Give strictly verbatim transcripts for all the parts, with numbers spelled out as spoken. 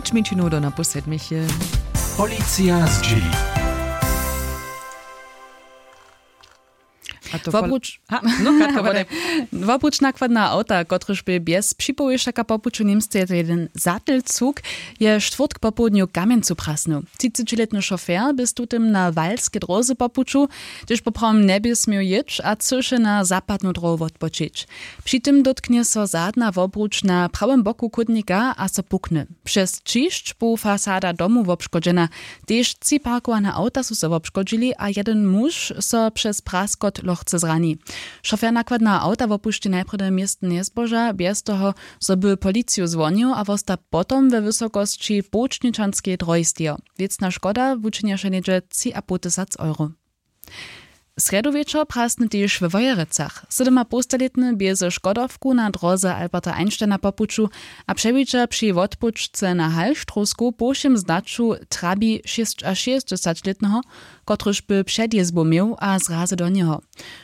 Šesć minut do napoł sedmich je. Policija zdźěli. A to wobruč ha, no, katka wodaj. Wobruč nakładna awta, kotryž bě bjez připowěšaka po puću němsce je to jeden zatylcuk, je štwórtk popołdnju w kamjencu prasnył. Třicećilětny šofer bě z tutym na walskej dróze po puću, hdyž poprawom njebě směł jěć a chcyše na zapadnu dróhu wotpočić. Při tym dótknje so zadna wobruč na prawym boku chódnika a so pukny. Přez ćišć bu fasada domu wobškodźena. Tež tři parkowane awta su so wobškodźili a jedyn muž so přez praskot lochce zrani. Šofer nakładneho awta wopušći najprjedy městnje zboža bjez toho, zo by policiju zwonił, a wosta potom we wysokosći połčničanskeje drohi stejo. Wěcna škoda wučinješe něhdźe tři a poł tysac euro. Srjedu wječor prasny tež we Wojerecach. Sydomapołstalětny bě ze škodowku na dróze Alberta Einsteina po puću a přewidźa při wotpućce na Halštrowsku po wšěm znaću trabi šěsćašěsćdźesaćlětneho, kotryž by předjězbu měł a zrazy do njeho.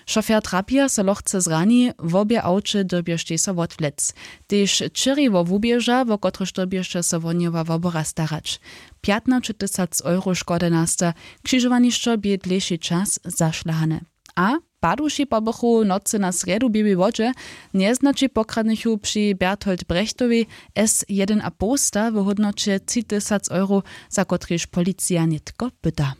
Šofer trapija so lochce zrani, wobě awće dyrbještej so wotwlec. Tež čěriwo wuběža, wo kotryž dyrbješe so wohnjowa wobora starać. Pjatnaćetysac euro škody nasta. Křižowanišćo bě dlěši čas zašlahane. A paduši pobychu w nocy na srjedu w běłej wodźe. Njeznaći pokradnychu při Berthold Brechtowej s jedyn a połsta w hódnoće tři tysac euro, za kotrež policija nětko pyta.